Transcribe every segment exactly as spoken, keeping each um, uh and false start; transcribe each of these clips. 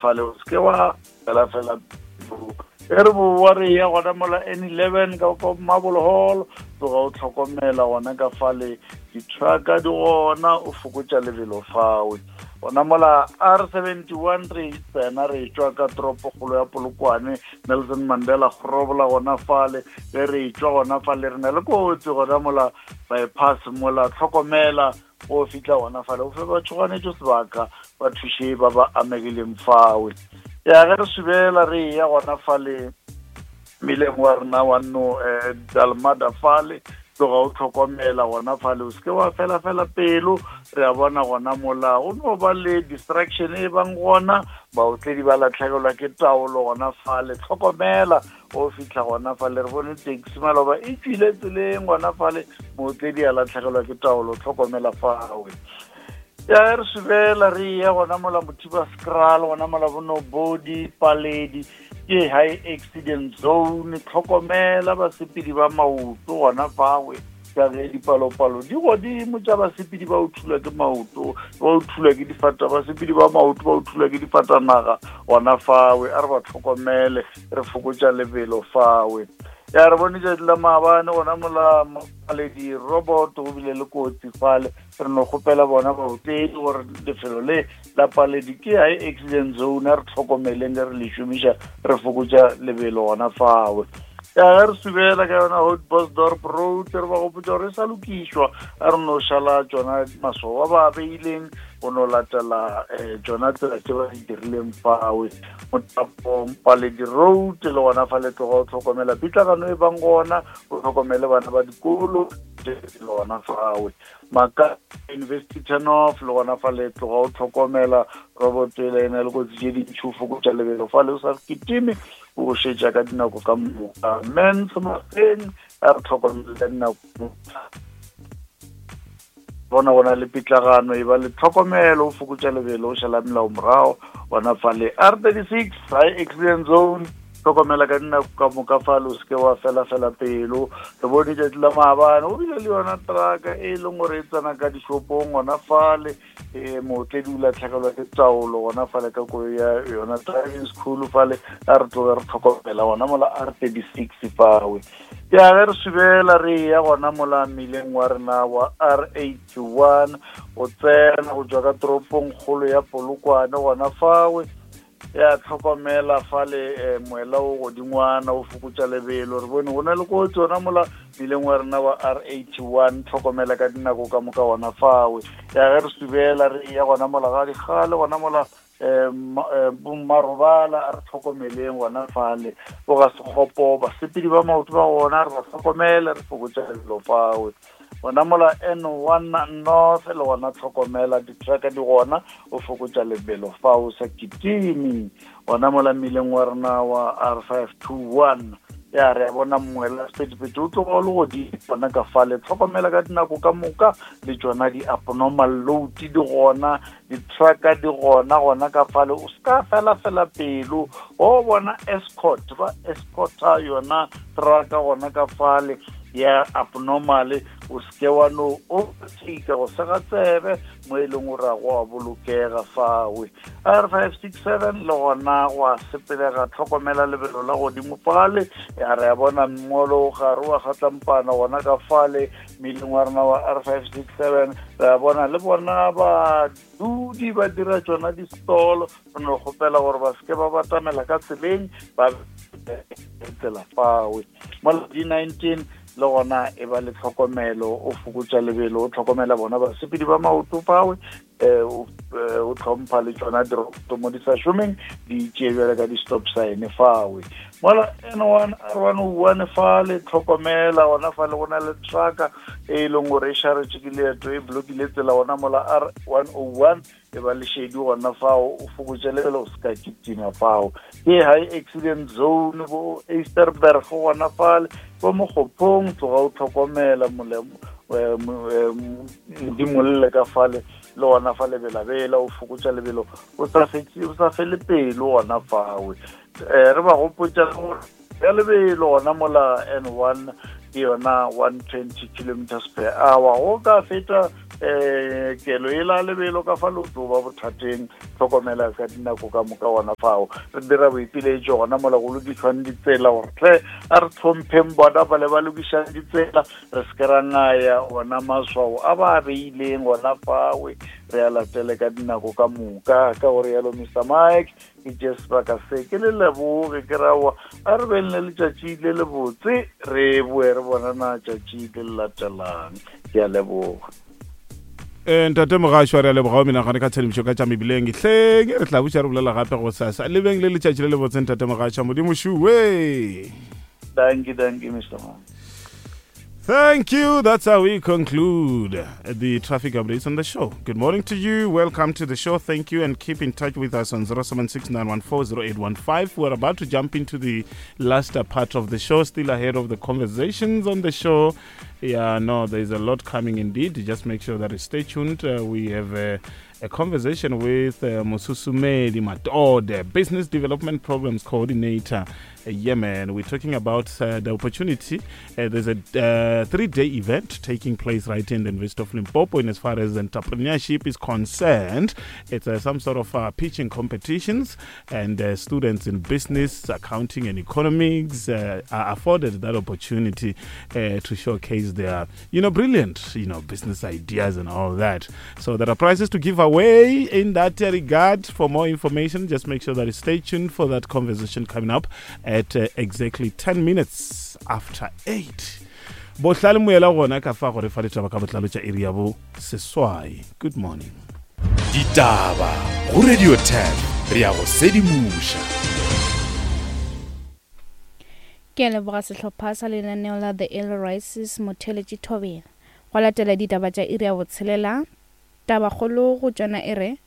Fale o seke wa fela fela. E re boa re ya gona mola N eleven ka kwa Marble Hall, tloga o tlhokomela gona ka fale, di-trucka di gona, o fokotša lebelo fawe. Gona mola R seventy one re tsena re tšwa ka toropokgolo ya Polokwane, Nelson Mandela grobola gona fale. Ge re tšwa gona fale re na le kotsi gona mola bypass mola, tlhokomela go fihla gona fale, o fe ba tšhoganetšo sebaka ba thuše ba ba amegileng fawe. Ya ge re subela re ya gona fale mmileng wa rena wa no eh, Dalmada fale, tloga o tlhokomela gona fale, o seke wa fela fela pelo. Re a bona gona mola go no ba le distraction e bang gona, baotledi ba latlhegelwa ke taolo gona fale, tlhokomela o fihla gona fale. Re bone taxi maloba e tswile tseleng gona fale, mootledi a latlhegelwa ke taolo, tlhokomela fawe. Ya re subela re ya gona mola Mothiba Scral, gona mola Bonobodi Paledi, ke high accident zone, tlhokomela basepedi ba maoto gona fawe, ka ge dipalopalo di godimo tša basepedi ba o thulwa ke maoto, ba o thulwa ke difata, basepedi ba maoto ba o thulwa ke difatanaga gona fawe. A re ba tlhokomele, re fokotša lebelo fawe. Ya re bone tšatši la maabane gona mola Paledi robot go bile le kotsi fale, re no kgopela bona baotledi gore lefelo le la Paledi ke high accident zone, a re tlhokomeleng ge re le šomiša, re fokotša lebelo gona fawe. Ya ge re subela ka yona Houtbosdorp Road, re ba gopotša gore e sa lokišwa, a re no šala tšona maswao a ba beileng go no latela um tšona tsela tše ba di dirileng fawe. Motapong Paledi Road le gona fa le tloga o tlhokomela pitlagano e bang gona, o tlhokomele bana ba dikolo le gona fawe. Maka University turn off le gona fa le tloga o tlhokomela robot ela e na le kotsi tše dintši, o fokotša lebelo fale, o sa kitime, o šetša ka dinako ka moka. Mens Mafeng a re tlhokomele ka dinako, bona gona le pitlagano, e ba le tlhokomelo, o fokotša lebelo, o šala melao morago gona fale. R thirty six high accident zone, tlhokomela ka dinako ka moka fale, o seke wa fela fela pelo. Re bone tšatši la maabane o bile le yona trucka e leng gore e tsena ka dishopong gona fale, e mootledi o latlhegelwa ke taolo gona fale ka koloi ya yona driving school fale. A re tloge re tlhokomela gona mola R thirty six fawe. Ya ge re subela re ya gona mola mmileng wa rena wa R eighty one o tsena go tšwa ka toropong kgolo ya Polokwane gona fawe. Ya tlhokomela fale eh, moela o godingwana, o fokotša lebelo. Re bone go na le kotsi gona mola mmileng wa rena wa R eighty one, tlhokomela ka dinako ka moka gona fawe. Ya ge re subela re ya gona mola ga dikgale gona mola um bommarobala, a re tlhokomeleng gona fale bo ga sekgopo, basepedi ba maoto ba gona re ba tlhokomele, re fokotša lebelo fawe. Gona mola N one North le gona tlhokomela di-trucka di gona, o fokotša lebelo fa o sa kitime. Gona mola mmileng wa rena wa R five two one, ya re a bona moela sephethephethe o tloga o le godimo gona ka fale, tlhokomela ka dinako ka moka. Le tšona di-abnormal load di gona, di-trucka di gona gona ka fale, o ska fela fela pelo. O bona escort ba escorta yona trucka gona ka fale ya abnormal, o seke wa no overtake go sega tsebe mo e leng gore go a bolokega fawe. R five six seven le gona go a sepelega, tlhokomela lebelo la godimo fale. Ya re a bona mmolo gare wa kgatlampana gona ka fale mmileng wa rena wa R five six seven, re a bona le bona badudi ba dira tšona di-stall, re no kgopela gore ba seke ba batamela ka tseleng ba tsela fawe. Mola D nineteen le gona e ba le tlhokomelo, o fokotša lebelo, o tlhokomela bona basepedi ba maoto fawe, eh, o tlhompha le tšona diroboto mo di sa šomeng, di tšee bjale ka di-stop sign fawe. Mola N one R one oh one fale tlhokomela gona fale, go na le trucka e leng gore e šaretše ke leeto, e blokile tsela gona mola R one oh one, e ba le šedi gona fao, o fokotše lebelo, o se ka kitima fao. Ke high accident zone bo Easterberg gona fale, bo Mokgophong, tloga o tlhokomela modimolle ka fale le gona fa lebelabela, o fokotša lebelo, o sa fetše, o sa fele pelo gona fawe. Eh, re ba gopotša gore ya lebelo gona mola N one ke yona one twenty kilometers per hour, go ka feta um kelo e la lebelo ka fa le tlo ba bothateng. Tlhokomela ka dinako ka moka gona fao. Re dira boipiletšo gona mola go lokišwang ditsela gore tle a re tlhompheng bona ba le ba lokišang ditsela, re se ke ra ngaya ona maswao a ba beileng gona fawe, re a latele ka dinako ka moka. Ka gore yalo Mister Mike, ke tše sebaka se ke le leboge, ke raowa a re beng le letšatši le lebotse, re boe re bonana tšatši le le latelang. Ke a leboga. Ntate Mogašwa, re a leboga o menagane ka tshedimošo ka tša mebileng. Hleng re tla buša re bolela gape go sasa. Le beng le letšatši le lebotse ntate Mogašwa. Modimo šuwe. Dankie, dankie Mister Mike. Thank you. That's how we conclude the traffic updates on the show. Good morning to you. Welcome to the show. Thank you, and keep in touch with us on zero seven six nine one four zero eight one five. We're about to jump into the last part of the show, still ahead of the conversations on the show. Yeah, no, there's a lot coming indeed. Just make sure that you stay tuned. Uh, we have a, a conversation with uh, Mosusumedi Matode, Business Development Programs Coordinator. Uh, yeah, man, we're talking about uh, the opportunity. Uh, there's a uh, three-day event taking place right in the University of Limpopo in as far as entrepreneurship is concerned. It's uh, some sort of uh, pitching competitions, and uh, students in business, accounting, and economics uh, are afforded that opportunity uh, to showcase their, you know, brilliant, you know, business ideas and all that. So there are prizes to give away in that regard. For more information, just make sure that you stay tuned for that conversation coming up at uh, exactly ten minutes after eight. Bohlale moela gona ka fa gore fa ditaba ka botlalo tša iri ya bo seswai. Good morning. Ditaba go Radio ten, re ya go sedimoša. Ke a leboga sehlopha sa lenaneo la The Early Rises Motheletši Thobela. Go latela ditaba tša iri ya botshelela, tabakgolo go tšona e re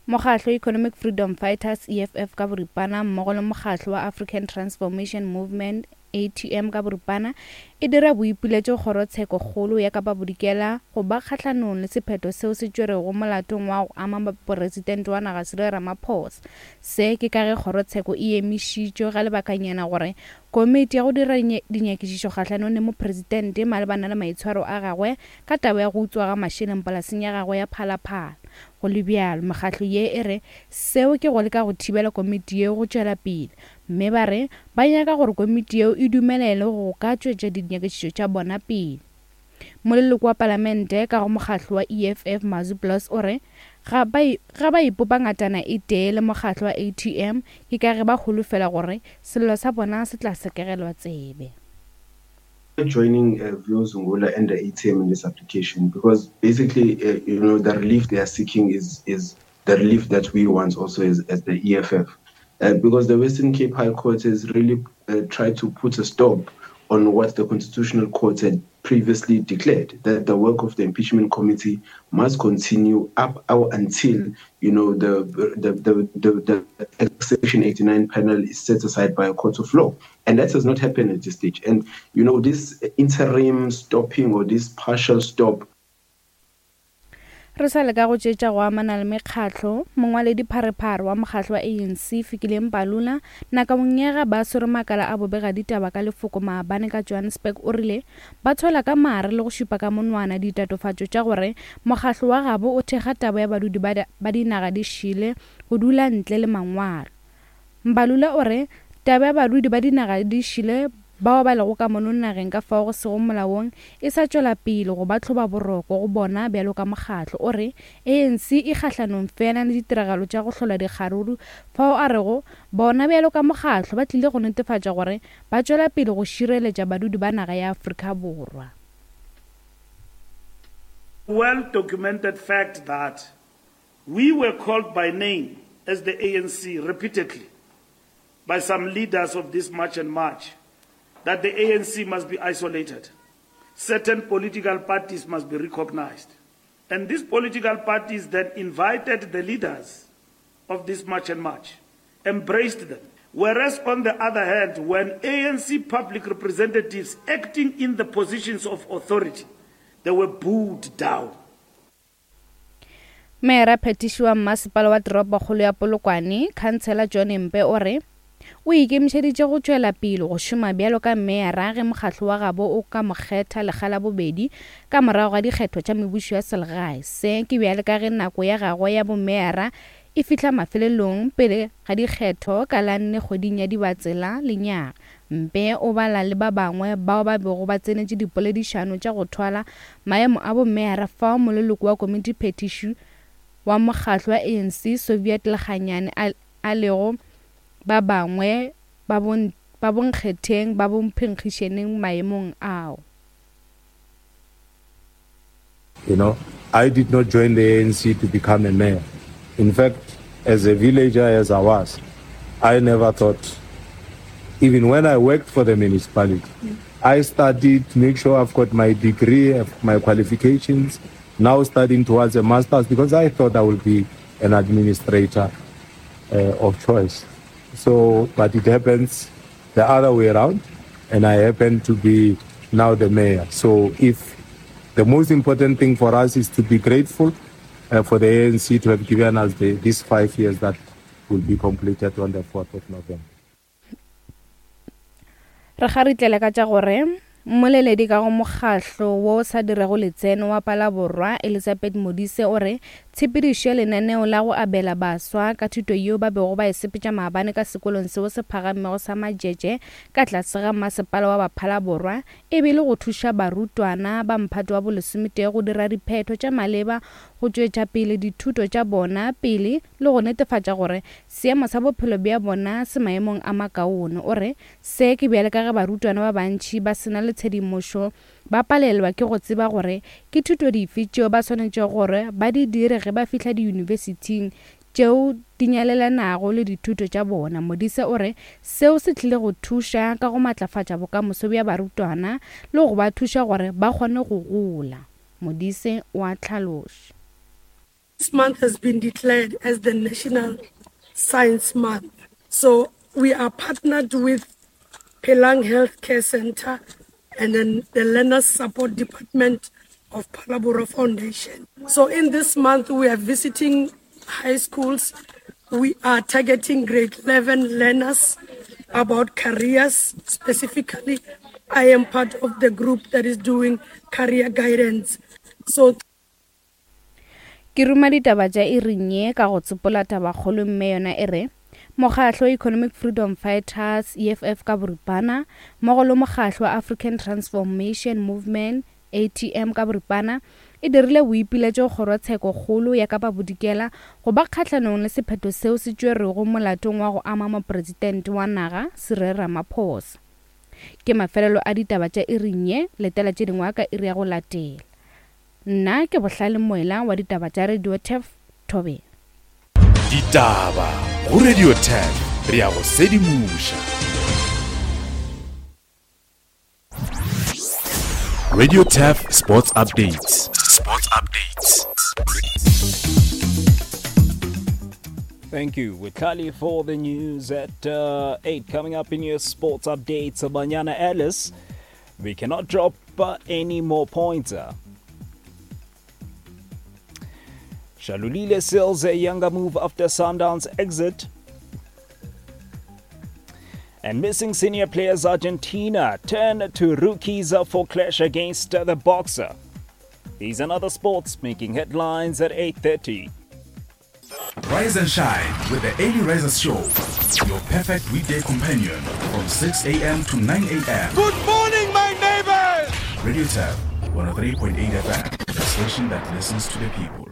Mokgatlo Economic Freedom Fighters E F F ka boripana mmogo le mokgatlo wa African Transformation Movement A T M ka boripana e dira boipiletšo kgorotsheko kgolo ya Kapa Bodikela go ba kgahlanong le sephetho seo se tšwerego molatong wa go ama mopresidente wa naga Cyril Ramaphosa. Se ke ka ge kgorotsheko e emišitšwe ga lebakanyana gore komiti ya go dira dinyakišišo kgahlanong le mopresidente malebana le maitshwaro a gagwe ka taba ya go utswa ga mašeleng polaseng ya gagwe ya Phalaphala. Go le bjalo, mekgatlo ye e re seo ke go leka go thibela komiti yeo go tšwela pele, mme ba re ba nyaka gore komiti yeo e dumelele go ka tšwetša dinyakišišo tša bona pele. Moleloko wa palamente ka go mokgatlo wa E F F Mazu Plus o re ga ba ipopa ngatana e tee le mokgatlo wa A T M ke ka ge ba holofela gore sello sa bona se tla sekegelwa tsebe. Joining uh, Vuyo Zungula and the A T M in this application, because basically, uh, you know, the relief they are seeking is is the relief that we want also as, as the E F F, uh, because the Western Cape High Court has really uh, tried to put a stop on what the Constitutional Court had previously declared, that the work of the impeachment committee must continue up until, you know, the the, the, the, the Section eighty-nine panel is set aside by a court of law. And that has not happened at this stage. And, you know, this interim stopping or this partial stop. Re sa leka go tšetša go amana le mekgatlo, mongwaledi pharephare wa mokgatlo wa A N C Fikile Mbalula nakong ya ga ba swere makala a bobega ditaba ka lefoko maabane ka Johannesburg o rile ba tswela ka mare le go šupa ka monwana ditatofatšo tša gore mokgatlo wa gabo o thekga taba ya badudi ba dinaga di šile go dula ntle le mangwalo. Mbalula o re taba ya badudi ba dinaga di šile bao ba lego ka mono nageng ka fao go sego molaong e sa tšwela pele go ba tlhoba boroko go bona bjalo ka mokgatlo. O re A N C e kgahlanong fela le ditiragalo tša go hlola dikgaruru fao a rego bona bjalo ka mokgatlo ba tlile go netefatša gore ba tšwela pele go šireletša badudi ba naga ya Afrika Borwa. Well documented fact that we were called by name as the A N C repeatedly by some leaders of this March and March that the A N C must be isolated. Certain political parties must be recognized. And these political parties then invited the leaders of this March and March, embraced them. Whereas on the other hand, when A N C public representatives acting in the positions of authority, they were booed down. Mera phetiši wa mmasepala wa toropokgolo ya Polokwane, Khansela John Mpe o re o ikemišeditše go tšwela pele go šoma bjalo ka meyara ge mokgatlo wa gabo o ka mo kgetha lekga la bobedi ka morago ga dikgetho tša mebušo ya selegae. Se ke bjale ka ge nako ya gagwe ya bomeyara e fihla mafelelong pele ga dikgetho ka la nne kgweding ya Dibatsela lenyaga. Mpe o bala le ba bangwe bao ba bego ba tsenetše dipoledišano tša go thwala maemo a bomeyara fao moleloko wa komiti phetiši wa mokgatlo wa A N C Soviet Lekganyane a, a lego ba bangwe ba bon ba bonkgetheng ba bomphenkgišaneng maemong ao. You know, I did not join the A N C to become a mayor. In fact, as a villager as I was, I never thought, even when I worked for the municipality, mm. I studied to make sure I've got my degree, my qualifications, now studying towards a master's because I thought I would be an administrator uh, of choice. So, but it happens the other way around, and I happen to be now the mayor. So if the most important thing for us is to be grateful uh, for the A N C to have given us the, these five years that will be completed on the fourth of November. Re kgaritlele ka tša gore mmoleledi ka go mokgahlo wo sa dirego letseno wa Palaborwa Elizabeth Modise o re tshepedišo ya lenaneo la go abela baswa ka thuto yeo ba bego ba e sepetša maabane ka sekolong seo se phagamego sa Majeje ka tlase ga masepala wa Baphalaborwa e bile go thuša barutwana ba mphato wa bolesometee go dira diphetho tša maleba go tšwetša pele dithuto tša bona pele le go netefatša gore seemo sa bophelo bja bona se maemong a makaone. O re se ke bjale ka ge barutwana ba bantši ba sena le tshedimošo ba palelwa ke go tseba gore ke thuto dife tšeo ba swanetšego gore ba di dire ge ba fihla diyunibesithing tšeo di nyalelanago le dithuto tša bona. Modise o re seo se tlile go thuša ka go matlafatša bokamoso bja barutwana le go ba thuša gore ba kgone go gola. Modise o a hlaloša. This month has been declared as the National Science Month. So we are partnered with Phelang Healthcare Center and then the Learners Support Department of Phalaborwa Foundation. So in this month, we are visiting high schools. We are targeting grade eleven learners about careers. Specifically, I am part of the group that is doing career guidance. So ke ruma ditaba tša iring ye ka go tsopola tabakgolo mme yona e re mokgatlo Economic Freedom Fighters E F F ka boripana mmogo le mokgatlo wa African Transformation Movement A T M ka boripana e dirile boipiletšo kgorotsheko kgolo ya Kapa Bodikela go ba kgahlanong le sephetho seo se tšwerego molatong wa go ama mopresidente wa naga Cyril Ramaphosa. Ke mafelelo a ditaba tša iring ye, letela tše dingwe ka iri ya go latela. Nna ke Bohlale Moela wa ditaba tša Radio Turf Thobela. Ditaba go Radio Turf, re ya go sedimoša. Radio Turf Sports Updates. Sports Updates. Thank you, Witali, for the news at uh, eight. Coming up in your sports updates, Banyana Ellis, we cannot drop uh, any more points. Shalulile sells a younger move after Sundowns exit. And missing senior players Argentina turn to rookies for clash against the boxer. These and other sports making headlines at eight thirty. Rise and shine with the Early Risers Show, your perfect weekday companion from six a.m. to nine a.m. Good morning, my neighbors! Radio Turf, one oh three point eight F M, the station that listens to the people.